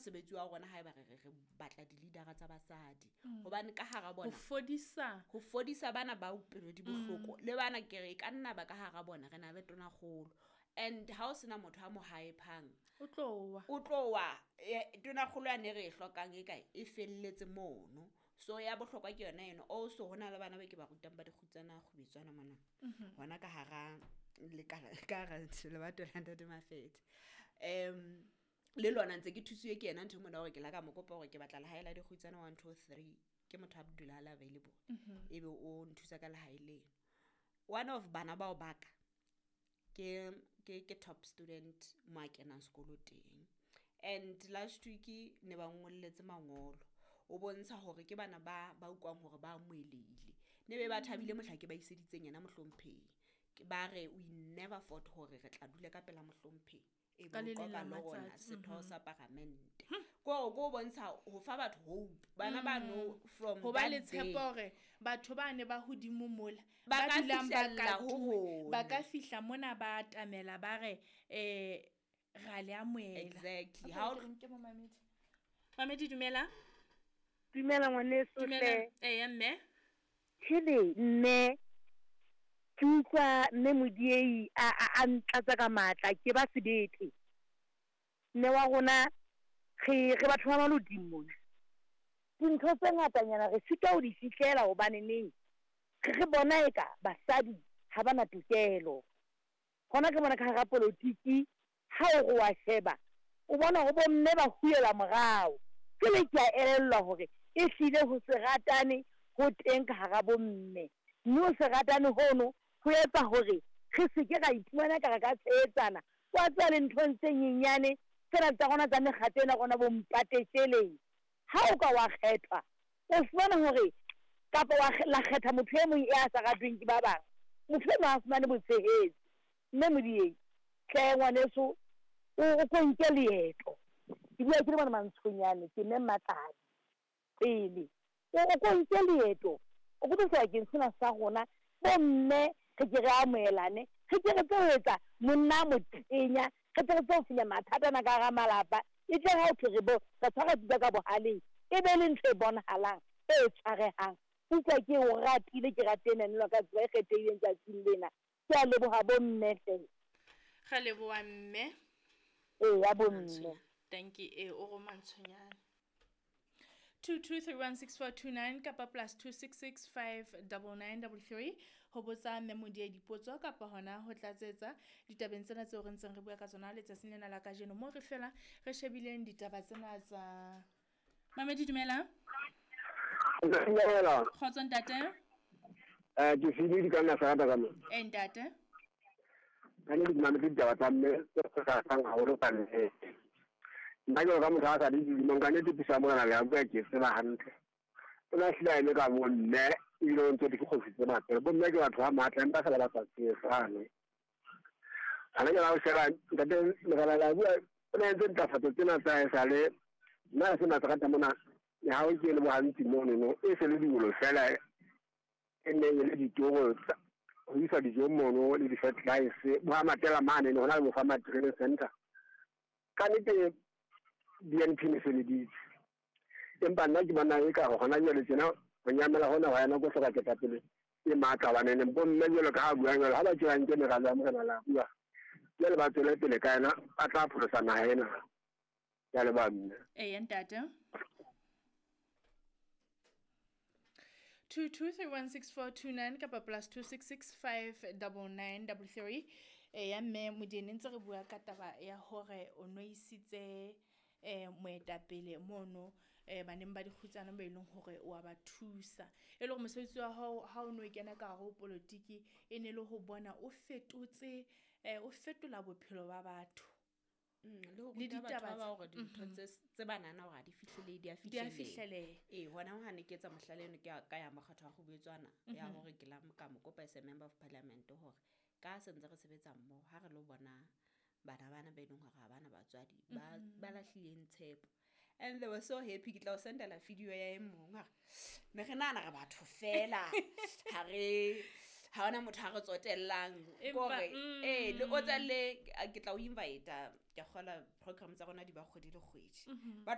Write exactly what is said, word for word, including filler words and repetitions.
mosebetsi wa rona haeba re re re batla di-leadera tsa basadi. Hobane ka hara Ho bona fodisa. Ho fodisa bana ba pelo di bohloko, le bana ke re e ka nna ba ka hara bona re na le tonakgolo. And ha o sena motho a mo hype-ang, O tlo wa. O tlo wa. eh, tonakgolo yane re e hlokang e kae, e felletse mono. So ya bohlokwa ke yona eno. Also ho na le bana ba ke ba rutang ba dikgutsana kgubetswana mona, hona ka hara lekala, ka hara lebato la Ntate Mafethe. um le lona ntse ke thusiwe ke yena ntho e mona, hore ke la ka mo kopa hore ke batla lehae la dikgutsana one two three. Ke motho a dula a le available, ebe o nthusa ka lehae leno. One of bana bao baka ke ke ke top student mo a kenang sekolo teng, and last week ne ba ngolletse mangolo o bontsha hore ke bana ba ba utlwang hore ba amohelehile. Ne be ba thabile mohla ke ba iseditseng yena mohlomphehi. Ke ba re, "We never thought hore re tla dula ka pela mohlomphehi e Ka be le o leng la qoqa le rona matsatsi, setho sa paramente." Ko hore ko bontsha ho fa batho hope, bana ba no from Ho ba le that day. Tshepo hore batho ba ne ba hodimo mola Ba ba ka dulang ba fihlella ho katuwe, ba rona. ka fihla mona, ba atamela, ba re um ra le amohela. Exactly. Okay, Ha o ke re nke momamedi. Mamedi, dumela. Dumela ngwaneso. Dumela. Hle. Eya, mme. Hele mme, ke utlwa mme Modiei a a a ntlatsa ka matla, ke ba sebete. Mme wa rona, re re batho ba Maloding mona. Dintho tse ngatanyana re sitwa ho di fihlela hobane neng re re bona eka basadi ha ba na tokelo. Hona ke mona ka hara polotiki, ha o re wa sheba, o bona hore bomme ba hulela morao. Jwale ke a elellwa hore ehlile ho se ratane ho teng ka hara bomme, mme ho se ratane hono ho etsa hore re se ke ra iphumana ka re ka tshehetsana. Wa tseba, le nthong tse nyenyane tsena tsa rona tsa mekgatlo ena rona bo mpatetjeleng, ha o ka wa kgethwa, o fumana hore kapa wa la kgetha motho e mong e a sa ratweng ke ba bang, motho eno ha fumane botshehetsi. Mme Modiei hle ngwaneso, o o ko nke leeto, ke bua ke le mona Mantshonyane, ke mme Mmatladi pele, o o ko nke leeto, o ko tle sebakeng sena sa rona bomme, re ke re amohelane, re ke re tse ho etsa monna a motenya, re tle re tse ho fenya mathata ana ka hara malapa. E tle ha ho thwe re bo re tshwara pitsa ka bohaleng, e be le ntho e bonahalang e tshwarehang. Utlwa, ke o ratile, ke rate enanelwa ka tsela e kgethehileng tsatsing lena. Ke a leboha bomme hle. Re leboha, mme. Eya bomme. Thank you. E o ro Mantshonyane. Two two three one six four two nine kapa plus two six six five double nine double three ho botsa mme Modiei dipotso kapa hona ho tlatsetsa ditabeng tsena tseo re ntseng re bua ka tsona letsatsing lena la kajeno, mo re fela re shebileng ditaba tsena tsa mamedi. Dumela. Dumela. Kgotso, ntate. Eh, ke file di ka nna sa ka mo. E, ntate. Ka ne di mametse ditaba tsa mme tse kgahlang haholo ka nnete. Nna ke ka motho a sa di dilemong, ka nnete puso ya Morena le a bua ke tseba hantle. O na hlile a eme ka bomme, ebile o ntse di kgosi tse matla. Bomme ke batho ba matla, empa fela ba sa tshehetsane. Hana ke la o sheba ntate Morena le a bua, o na entse ntlafatso tsena tsa haesale. Nna se matsakata mona, ha o ke le bohantsi mono no, e se le diolo fela e neng e le ditoro ho isa dijo mono le di-fertilizer bo ha matela mane ne hona le bo farmer training center. Ka nnete B N P ne sebeditse, empa nna ke bona e ka hona jwale tjena ho nyamela hona wa yena ko hloka ketapele e matla, hobane bomme jwalo ka ha buang jwalo, ha ba tjela nke meralo ya Morena la bua jwale, ba tswele pele ka yena, ba tla pholosa naha ena. Ke a leboha, mme. Eya, ntate. Two two three one six four two nine kapa plus two six six five double nine double three. Eya, mme Modiei, ntse re bua ka taba ya hore o no isitse eh moetapele mono eh baneng ba dikgutsana ba eleng hore wa ba thusa, e le hore mosebetsi wa hao ha o no kena ka hare ho politiki e ne le ho bona o fetotse eh o fetola bophelo ba batho. Mm, le ho Le ruta batho ditaba ba tse- bang hore dintho tse tse ba nahana hore ha di fihlele, di a Di a fihleleha. fihleleha. Ee, hona ha ne ke etsa mohlala eno, ke ya- ka ya mokgatho wa kgobetswana ya hore ke la ka mo kopa as a member of parliament hore ka se ntse re sebetsa mmoho, ha re lo bona bana bana ba e leng hore ha bana batswadi, ba ba lahlileng tshepo, and they were so happy. Ke tla o sendela video ya e mong a re, ne re nahana re batho fela, ha re ha hona motho a re tsotellang. Empa, Kore mm. ee, le o tsa le ke tla o invita, ke a kgola program tsa rona di ba kgwedi le kgwedi. Ba